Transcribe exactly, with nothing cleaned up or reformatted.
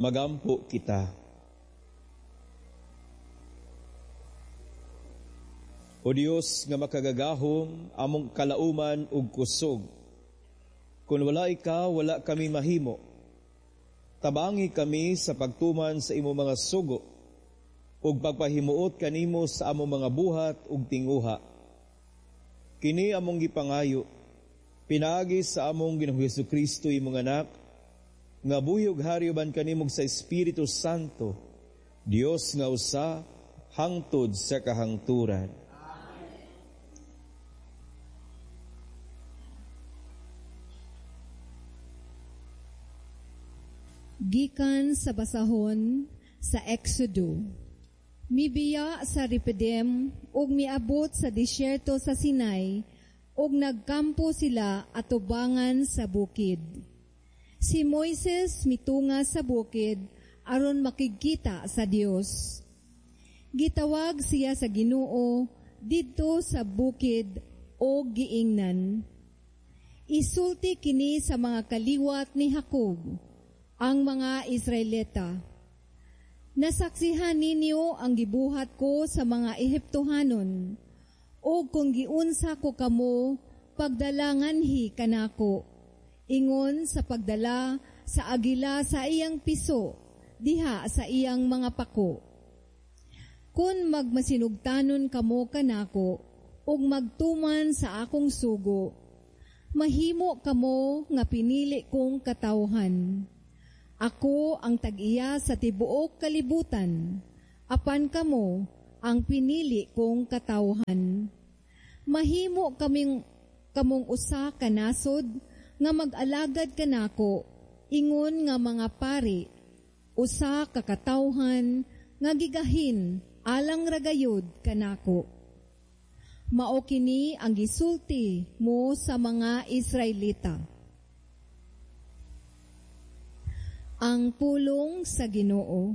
Magampo kita. O Dios nga makagagahom, among kalauman ug kusog. Kung wala ikaw, wala kami mahimo. Tabangi kami sa pagtuman sa imong mga sugo ug pagpahimuot kanimo sa among mga buhat ug tinguha. Kini among gipangayo, pinaagi sa among Ginoong Hesukristo imong anak, nga buhi ug hari uban kanimo sa Espiritu Santo, Dios nga usa hangtod sa kahangturan. Gikan sa basahon sa Exodo. Mibiya sa Repidim ug miabot sa disyerto sa Sinai ug nagkampo sila atubangan sa bukid. Si Moises mitunga sa bukid aron makigkita sa Dios. Gitawag siya sa Ginoo didto sa bukid og giingnan. Isulti kini sa mga kaliwat ni Jacob, ang mga Israelita. Nasaksihan ninyo ang gibuhat ko sa mga Ehiptohanon, o kung giunsa ko kamo, pagdalanganhi kanako, ingon sa pagdala sa agila sa iyang piso, diha sa iyang mga pako. Kung magmasinugtanon kamo kanako, ug magtuman sa akong sugo, mahimo kamo nga pinili kong katawhan. Ako ang tag-iya sa tibuok kalibutan, apan kamo ang pinili kong katawhan. Mahimo kaming kamong usa ka nasod nga mag-alagad kanako, ingon nga mga pari, usa ka katawhan nga gigahin alang ragayod kanako. Mao kini ang gisulti mo sa mga Israelita. Ang pulong sa Ginoo.